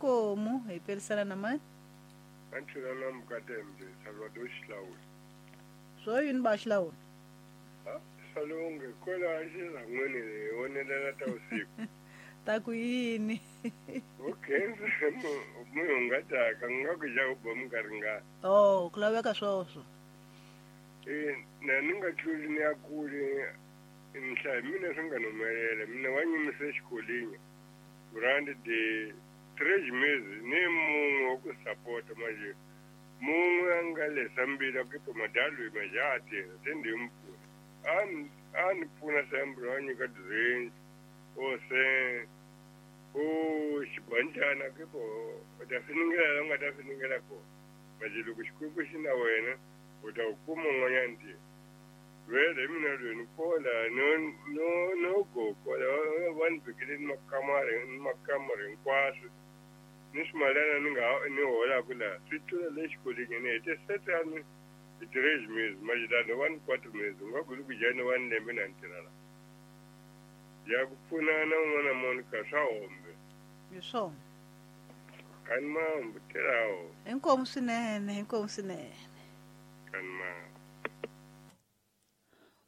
Inkomu hi perisana na mani? Anthula na Mukatembe Salvador Xilawula. Swo yini ba Xilawula? Salonge kwela xirhan'wini hi vonelela ta usiku. Ta ku yini? Okay, munhu nga taka nga ku ja ku ba minkarhi nga. Oh, ku laveka swoswo. Na ni nga tluli ni ya kule nhlayo mina swi nga humelela mina wa nyimise xikolini brand de 3 meses ni mun'we wa ku sapota manje mun'we a nga lesa mbila ku to madalwi majati se ndi mpfuna a ni pfuna sembro a nyika drench o se o xibanjana ke po u ta finingela la nga ta finingela ko manje loko xikwembu xi na wena u ta kuma un'wanyana ntirho vele mina lweni kola no go kola va ni vekele ni makamara hinkwaswo ni swimalana ni nga ni holaku laha swi tlula le xikolweni ni hete setani hi 3 meses manje va ni 4 meses u nga ku ku jani va ni lembe na ntirha la ya ku pfunana un'wana Monica swa hombe hi swona kani mambo tirhawo inkomu swinene inkomu swinene kani mambo.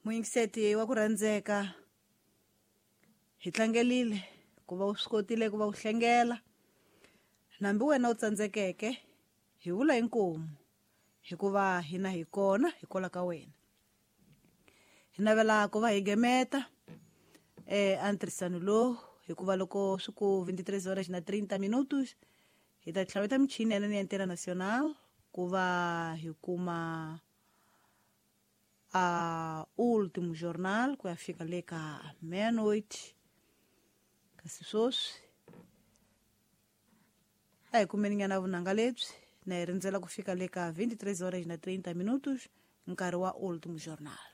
Muyingiseti wa ku rhandzeka hi tlangelile ku va u swi kotile ku va u hlengela nambi wena u tsandzekeke hi vula inkomu hikuva hina hi kona hikwalaho ka wena hi navela ku va hi gemeta antrisano lowu hikuva loko swi ku 23 horas na 30 minutos hi ta tlhaveta michini ya Antena Nacional ku va hi kuma a último jornal ku ya fika le ka meia-noite kasi sweswi a hi kumeni nyana vunanga lebyi na hi rindzela ku fika le ka 23 horas na 30 minutos nkarhi wa último jornal.